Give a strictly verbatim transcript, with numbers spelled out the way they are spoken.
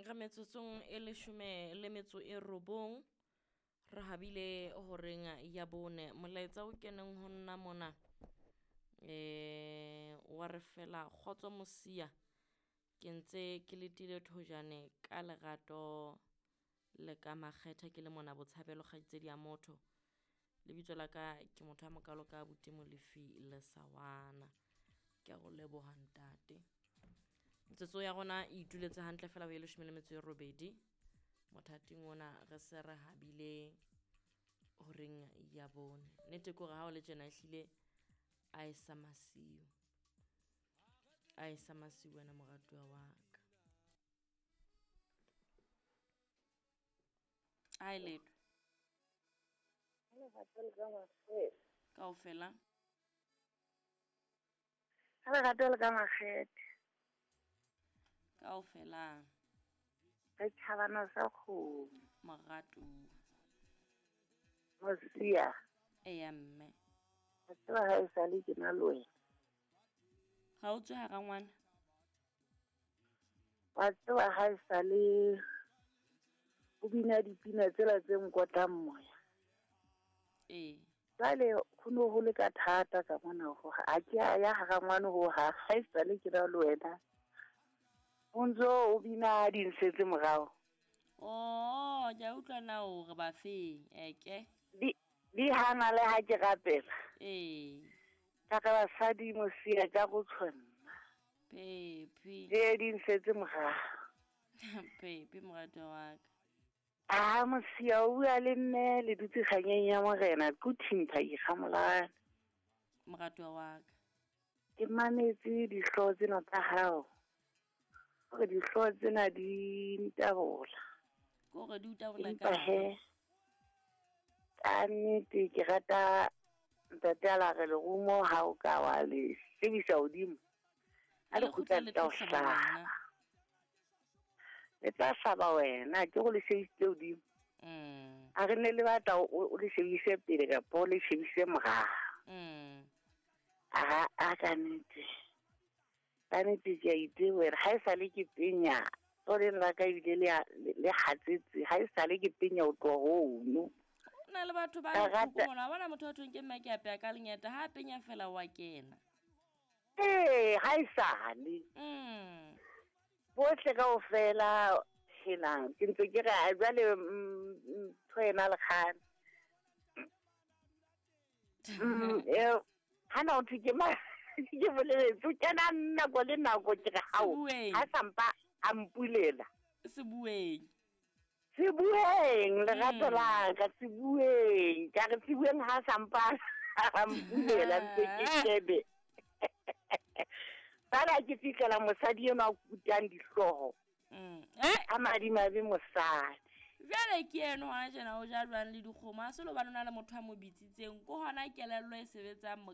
Re metsotsong e leshome le metso e robong re habile horeng ya bone. Molaetsa o keneng ho nna mona eh wa re fela kgotso mosia ke ntse ke letile thojane ka lerato le ka makgethe ke le mona Botshabelo kgaitsedi ya motho. Lebitso la ka ke motho a mokalo ka abuti Molefi le Sawana. Ke a go leboha ntate. Metsotso ya rona e ituletse hantle fela ho e leshome le metso e robedi. Mothating ona re se re habile horeng ya bone. Nnete ke hore ha o le tjena ehlile a e sa masiu. A e sa masiu wena moratuwa wa ka. A e letho. Kaofela. Ha lerato le ka makgethe. Kaofela. Re tjhabana sa kgomo. Moratuwa. Mosia. Eya mme. Wa tseba ha esale ke na le wena. Ha o tswe hara ngwana? Wa tseba ha esale o bina dipina tsela tse nkotlang moya. Ee. Jwale ho no ho le ka thata ka mona ho ha ke a ya hara ngwana ho ha ha esale ke na le wena. O ntso o bina dinsetse morao. Oh, ke a utlwa na hore ba feng eke. Di di hana le ha ke rapela. Ee. Ka ka basadi mosia ka go tshwanna. Pepi. Ee dinsetse morao. Pepi moratuwa wa ka. Ah mosia o bua le mme le dutse kganyeng ya morena ke thimpha ikgamolane. Moratuwa wa ka. Ke mametse dihlooho tsena tsa hao. Hore dihlooho tsena di ntabola. Ke hore di o tabola Empa ka he, ka nnete ke rata ntate a la re lerumo ha o ka wa le shebisa hodimo. Ha Ha le le kgutla kgutla le le tla tlo o hlaba hlaba. wena. Le tla hlaba wena ke go le shebisitse hodimo. Mm. A re ne le batla o o le shebise pele kapa o le shebise morao. Mm. A a ka nnete. Ka nnete ke a itebohela ha esale ke penya. Tsoleng la ka ebile le a- le le hatsetse ha esale ke penya ho tloha hono. Ho na le batho ba Ka lethoko rata mona. Wa bona motho wa thweng ke mme ke apeya ka lengeta ha a penya fela wa kena. Ee, ha esale. Mm. Bohle kaofela helang ke ntse ke re a jwale mm, ntho ena le kgale. Mm, eo hana ho thwe ke ma ke boleletse o kena nako le nako ke re hao Sebueng. ha sampa a mpulela. Sebueng. Sebueng lerato Mm. la ka sebueng ka re sebueng ha sampa a mpulela ntse ke shebe. Fela ke fihlela mosadi enwa a kutang dihlooho. Mm. Eh? A madimabe mosadi. Jwale ke eno hona tjena o ja jwang le dikgomo. Ha se le hobane o na le motho a mo bitsitseng. Ke hona kelello e sebetsang mo